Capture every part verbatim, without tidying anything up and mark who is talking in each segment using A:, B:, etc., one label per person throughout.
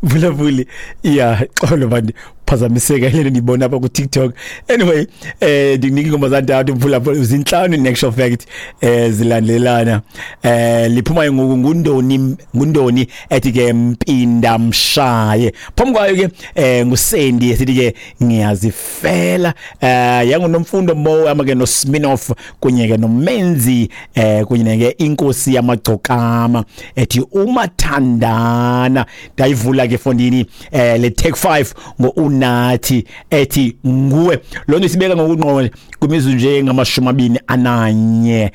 A: Mphulaphuli, ya, xolo mani, phazamiseka ile ndiyibona apha kuTikTok. Anyway, eh ndikunika ingoma zantathu, mphulaphuli, zintlanu in actual fact, eh zilandelana. eh liphuma ngoku ngundoni ngundoni ethi ke mpinda mshaye. Phambi kwayo ke eh nguSendi esithi ke ngiyazifela, eh yanguNomfundo Mo ama ke noSminoff kunye ke noMenzi, eh kunye ke inkosi yamagcokama ethi umathandana. Ndayivula ke fondini eh le Take five ngo-Unathi ethi nguwe. Lo nto isibeka ngokungqo kwimizuzu nje ngamashumi amabini ananye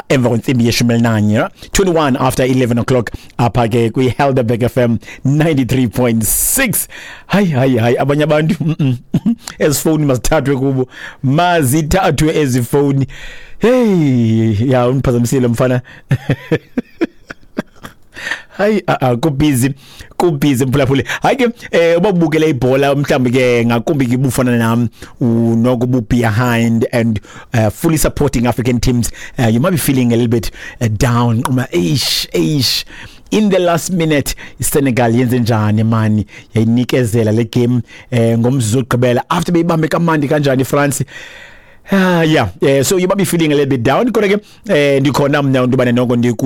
A: emva kwentsimbi yeshumi elinanye, twenty-one after eleven o'clock, apha ke kwi-Helderberg F M ninety-three point six. Hayi hayi hayi, abanye abantu ezifowuni mazithathwe kubo, mazithathwe ezifowuni. Hey, ya, undiphazamisile mfana. Hayi, a kubhizi kubhizi mphulaphuli. Hayi ke, eh ubabukele ibhola mhlawumbi ke ngakumbi ke bufana nam unokubu behind and uh, fully supporting African teams, uh, you might be feeling a little bit uh, down. Uma eish eish in the last minute iSenegal yenze njani mani, yayinikezela le game eh ngomzuzu ogqibela after beyibambe kamandi kanjani iFrance. Ah, yeah, yeah, so you might be feeling a little bit down. Kodwa ke eh ndikhona mna into bane noko ndiku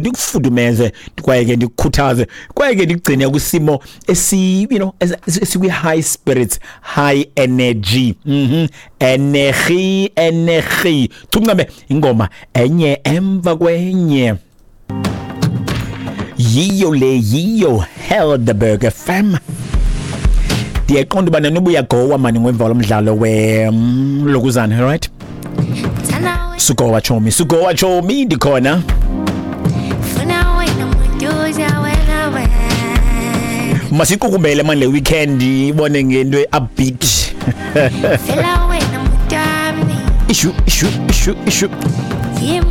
A: ndikufudumeze kwaye ke ndikukhuthaze kwaye ke ndigcine kwisimo esi you know esikwi high spirits, high energy. Mhm. Energy, energy. Thumncame ingoma enye emva kwenye. Yiyo le yiyo Helderberg F M. Ndiyaqonda uba nanoba uyagowa mani ngomva lomdlalo we lokuzana, right? Sugowa chomi, sugowa chomi ndikhona. Masiqukumbele mani le weekend ibone ngento upbeat. Ishu ishu ishu ishu.